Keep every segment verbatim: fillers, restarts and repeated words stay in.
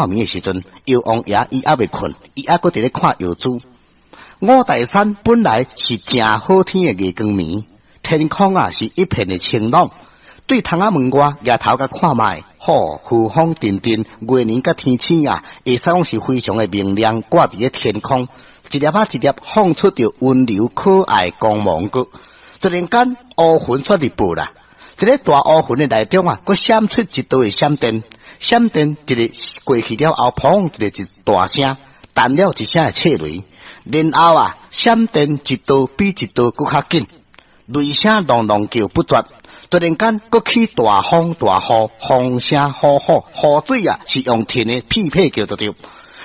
暝的時陣，藥王爺伊猶未睏，伊猶閣佇咧看藥珠。五台山本來是誠好天的月光暝，天空啊是一片的晴朗。對窗仔門外舉頭共看覓，吼，和風陣陣，月娘佮天星啊，會使講是非常的明亮，掛佇咧天空，一粒仔一粒放出著溫柔可愛光芒閣。突然間烏雲煞入報啦，佇咧大烏雲的內中啊，閣閃出一道的閃電，閃電一个過去了後，砰一个一大聲，彈了一聲的切雷，然後啊，閃電一道比一道閣較緊，雷聲隆隆叫不絕。突然間，閣起大風大雨，風聲呼呼，雨水啊是用天的屁屁叫著著。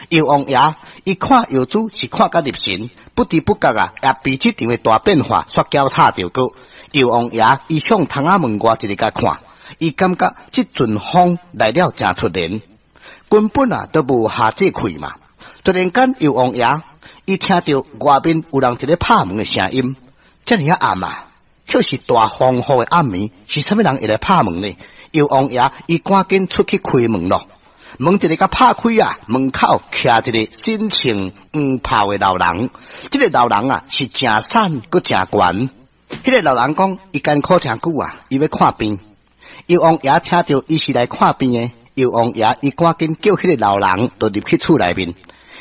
藥王爺伊看藥珠是看甲入神，不知不覺啊，也被這場的大變化煞攪吵著閣。藥王爺伊向窗仔門外一直共看，伊感覺這陣風來了誠突然，根本啊都無下這氣嘛。突然間，藥王爺伊聽著外面有人佇咧拍門的聲音，遮爾仔暗啊！卻是大風雨的暗暝，是啥物人會來拍門呢？藥王爺伊趕緊出去開門咯，門一个共拍開啊，門口徛一個身穿黃袍的老人。這個老人啊是誠瘦閣誠懸。彼個老人講，伊艱苦誠久啊，伊欲看病。藥王爺聽著伊是來看病的，藥王爺伊趕緊叫彼個老人就入去厝內面。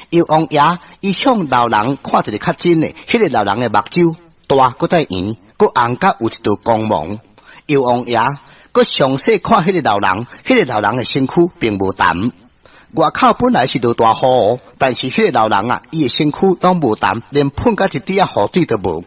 藥王爺伊向老人看一个較真的，彼個老人的目睭大閣再圓，閣紅甲有一道光芒。藥王爺閣詳細看彼個老人，彼個老人的身軀並無澹。外口本來是落大雨，但是彼個老人啊，伊的身軀攏無澹，連噴甲一滴仔雨水都無。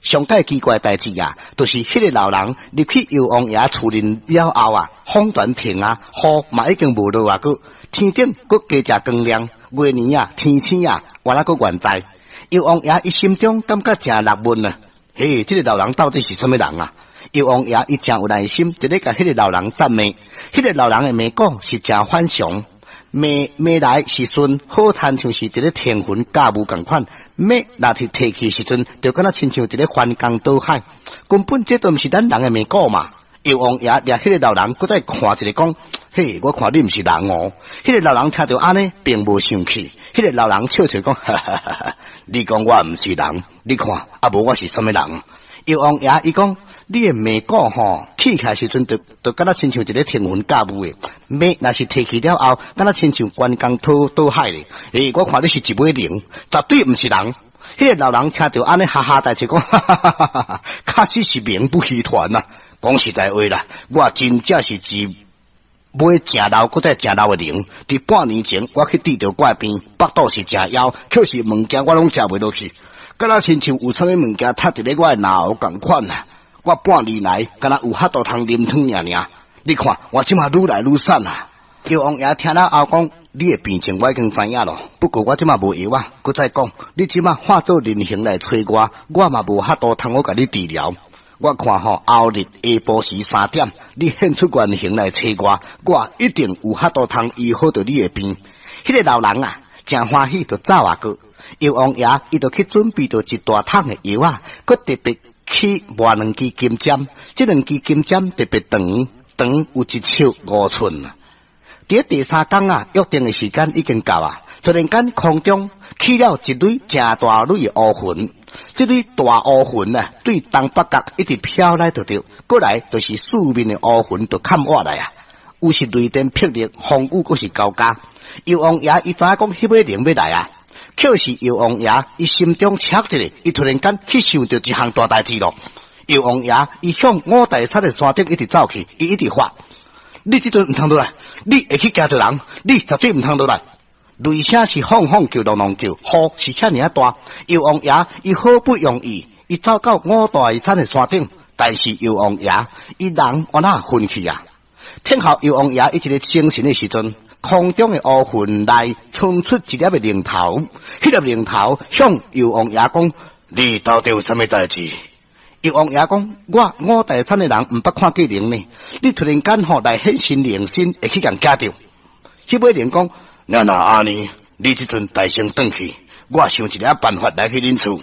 上蓋奇怪代誌啊，就是彼個老人入去藥王爺厝裡了後啊，風全停啊，雨嘛已經無落啊，閣天頂閣加誠光亮，月娘啊，天星啊，原來閣原在。藥王爺伊心中感覺誠納悶啊，嘿，這個老人到底是啥物人啊？藥王爺伊誠有耐心，佇咧共彼個老人責罵。彼個老人的罵講是誠反常，罵罵來是順，好親像是佇咧騰雲駕霧仝款。罵若是提去時陣，就敢若親像佇咧翻江倒海。根本這都毋是咱人的罵講嘛。藥王爺掠彼個老人，閣再看一下講，嘿，我看你毋是人哦。彼個老人聽著按呢，並無生氣。彼個老人笑笑講，哈哈哈哈，你講我毋是人，你看啊無我是啥物人？藥王爺伊講，你的罵鼓吼，起來時陣就就敢若親像一个騰雲駕霧的，罵若是提去了後，敢若親像關公討倒海咧。欸，我看你是一尾靈，絕對毋是人。彼個老人聽著按呢，哈哈大笑講，哈哈哈哈哈，確實是名不虛傳啊。講實在話啦，我真正是一尾誠老閣再誠老的靈。佇半年前，我去治著我的病，腹肚是誠枵，卻是物件我攏食袂落去，敢若親像有啥物物件塞佇咧我的嚨喉仝款啊！我半年來，敢若有法度通啉湯爾爾。你看，我這馬愈來愈瘦啊！藥王爺聽了後講，你的病情我已經知影咯。不過我這馬無藥啊，閣再講，你這馬化做人形來揣我，我嘛無法度通好共你治療。我看吼，後日下晡時三點，你現出原形來揣我，我一定有法度通醫好著你的病。彼個老人啊，誠歡喜就走啊閣。藥王爺伊就去準備著一大桶的藥仔，閣特別去磨兩支金針，這兩支金針特別長，長有一尺五寸啊。佇第三工啊，約定的時間已經到啊，突然間空中起了一蕊誠大蕊的烏雲，這蕊大烏雲啊，對東北角一直飄來就著，過來就是四面的烏雲就崁倚來啊，有是雷電霹靂，風雨閣是交加。藥王爺伊知影講彼尾靈欲來啊，卻是藥王爺伊心中捙一下，伊突然間去想著一項大代誌咯。藥王爺伊向五台山的山頂一直走去，伊一直喊：你這陣毋通落來，你會去驚著人，你絕對毋通落來。雷聲是轟轟叫，隆隆叫，雨是遐爾仔大。藥王爺伊好不容易，伊走到五台山的山頂，但是藥王爺伊人按怎昏去啊？聽候藥王爺伊一個精神的時陣，空中的烏雲內衝出一粒的靈頭，彼粒靈頭向藥王爺講：你到底有啥物代誌？藥王爺講：我五台山的人毋捌看過靈呢，你突然間吼來現身靈身，會去共驚著。彼尾靈講：若若按呢，你這陣代先轉去，我想一个辦法來去恁厝。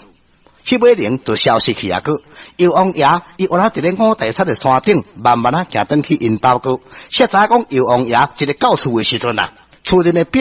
彼尾靈就消失去啊！閣藥王爺伊原來佇咧五台山的山頂，慢慢仔行轉去𪜶兜閣。才知影講藥王爺一个到厝的時陣啊，厝內的壁